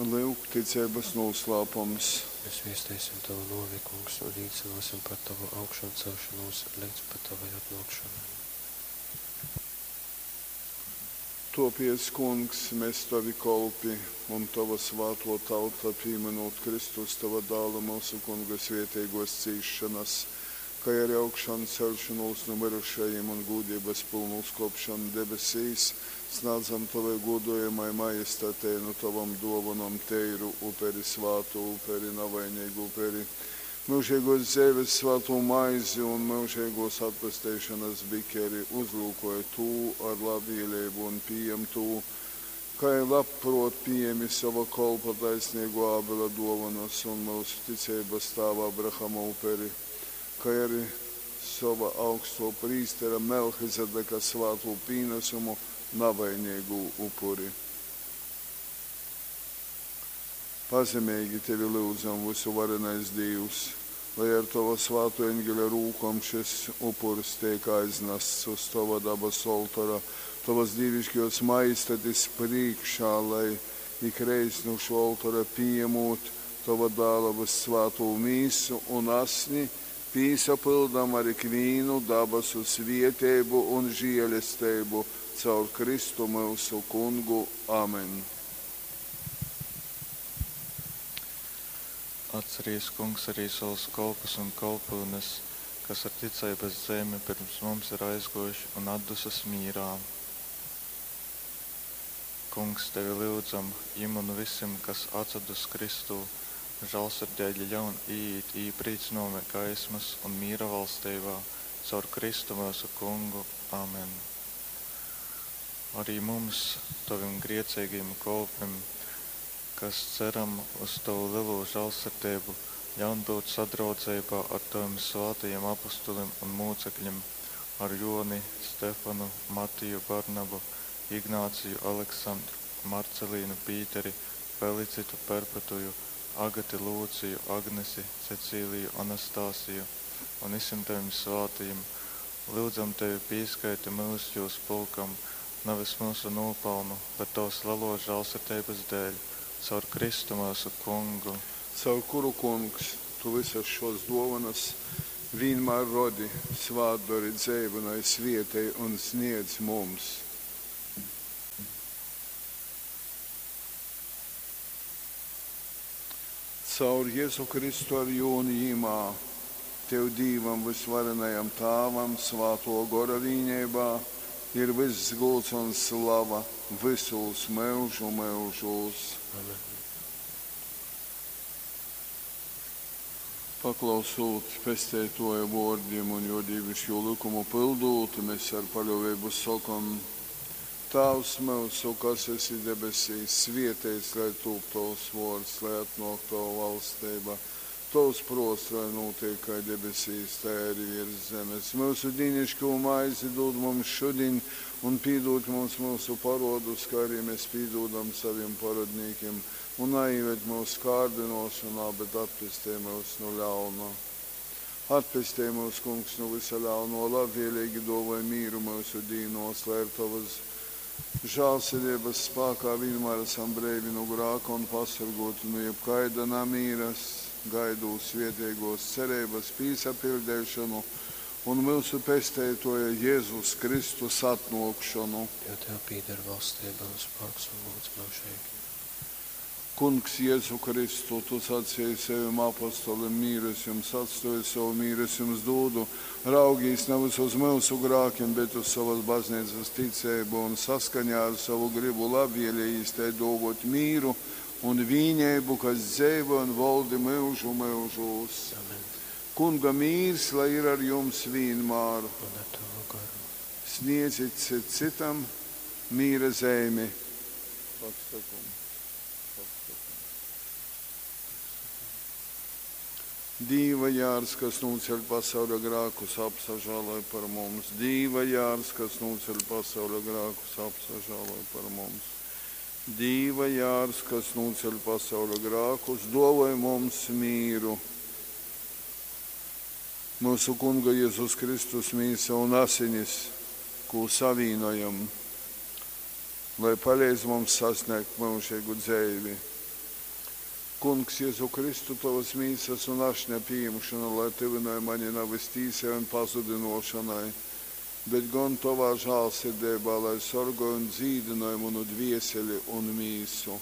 Lyuk, ticeibas nūslāpums. Mēs viesteisim Tavu nōvi, Kungs, un līcynōsim par Tavu augšancelšonūs leidz pat Tavai atnōkšonai. Tōpēc, Kungs, mes Tovi kolpi un Tova svātō tauta, pīmynūt Kristus, Tova Dāla, myusu Kunga svēteigōs cīsšonas, kai ari augšanceļšonūs nu myrušajim un gūdeibas pylnu uzkōpšonu debesīs, snādzam Tovai gūdojamai Majestatei nu Tovom dōvonom teiru uperi, svātu uperi, navaineigu uperi, myužeigōs dzeives svātū maizi un myužeigōs atpesteišonas bikeri. Uzlyukoj tū ar labvēleibu un pījem tū, kai labprōt pījemi sova kolpa taisneigō Ābela dōvonas un myusu ticeibas tāva Abrahama uperi, kai ari sova augstō prīstera Melchizedeka svātū pīnasumu, navaineigū upuri. Pazemeigi Tevi lyudzam, vysuvarenais Dīvs, lai ar Tova svātō eņgeļa rūkom šys upurs teik aiznasts uz Tova dabasu oltora, Tovas dīviškōs Majestatis prīškā, lai, ikreiz nu šō oltora pījemūt Tova Dāla vyssvātū Mīsu un Asni, pīsapyldam ar ikvīnu dabasu svieteibu un žielesteibu caur Kristu myusu Kungu. Amen. Atcerīs, Kungs, arī savus kolpus un kolpyunes, kas ar ticeibas zeimi pirms mums ir aizgōjuši un atdusas mīrā. Kungs, Tevi lyudzam, jim un visim, kas atsadus Kristū, žālsirdeigi ļaun īīt īprīcynojuma gaismas un mīra valsteibā, caur Kristu myusu Kungu. Amen. Arī mums, Tavim grieceigajim kolpim, kas ceram uz Tavu lielo žālsirdību, ļaun būt sadraudzeibā ar Tavim svātajiem apustulim un mūcekļiem, ar Joni, Stefanu, Matiju, Barnabu, Ignāciju, Aleksandru, Marcelīnu, Pīteri, Felicitu, Perpetuju, Agati, Lūciju, Agnesi, Cecīliju, Anastasiju un visiem Tavim svātajiem. Lūdzam Tevi pieskaiti mūs jūs pulkam, nevis mūsu nopelnu, bet Tavas lielo žālsirdības dēļ, caur Kristu mūsu Kungu. Caur kuru, Kungs, Tu visas šos dovanas vienmēr rodi, svātdori, dzeivynoj, svietej un sniedz mums. Caur Jezu Kristu ar jū un jimā, Tev Dīvam vysvarenajam Tāvam, Svātō Gora vīneibā, ir vyss gūds un slava vysūs myužu myužūs. Amen. Paklausūt Pesteitōja vōrdim un jō dīviškū lykumu pyldūt, mēs ar paļōveibu sokom: Tāvs myusu, kas esi debesīs, svieteits lai tūp Tovs vōrds, lai atnōk Tova valsteiba. Tovs prōts lai nūtiek kai debesīs, tai arī viers zemes. Myusu dīniškū maizi dūd mums šudiņ, un pīdūd mums myusu parodus, kā arī mēs pīdūdam saviem parodnīkiem, un naīved mūsu kārdinošanā, bet atpestej mūs no ļauna. Atpestej mūs, Kungs, no visa ļauno, labvēlīgi dāvāj mīru mūsu dīnos, lai ar Tavas žēlsirdības spēkā vienmēr esam brīvi no grāka un pasargoti no jebkaida namīras, gaidot svētīgos cerības pīsapildīšanu un mūsu pesteitoja Jēzus Kristus atnākšanu. Jo Tev pīder valstība un spēks un gods mūžīgi. Kungs Jēzu Kristu, Tu sacīji saviem apostolim, mīru es jums atstāju, savu mīru es jums dodu. Raugīs nevis uz mūsu grākiem, bet uz savas baznīcas ticību un saskaņā ar savu gribu labvēlījis tai dovot mīru un vīnību, kas dzīvo un valdi mūžu mūžos. Amen. Kunga mīrs, lai ir ar jums vienmēr. Un ar Tavu garu. Sniedzit cit citam mīra zīmi. Paksakum. Dīva jārs, kas nūceļ pasauļa grākus, apsažāloj par mums. Dīva jārs, kas nūceļ pasauļa grākus, apsažāloj par mums. Dīva jārs, kas nūceļ pasauļa grākus, dovoj mums mīru. Mūsu Kunga Jēzus Kristus mīsa un asinis, ko savīnojam, lai palīdz mums sasniegt mūžīgu dzīvi. Kungs Jezu Kristu, tovas mīsas un ašņa pījimšona lai tyvynoj mani navys tīsai un pazudynōšonai, bet gon tovā žālsirdeibā lai sorgoj un dzīdynoj munu dvieseli un mīsu.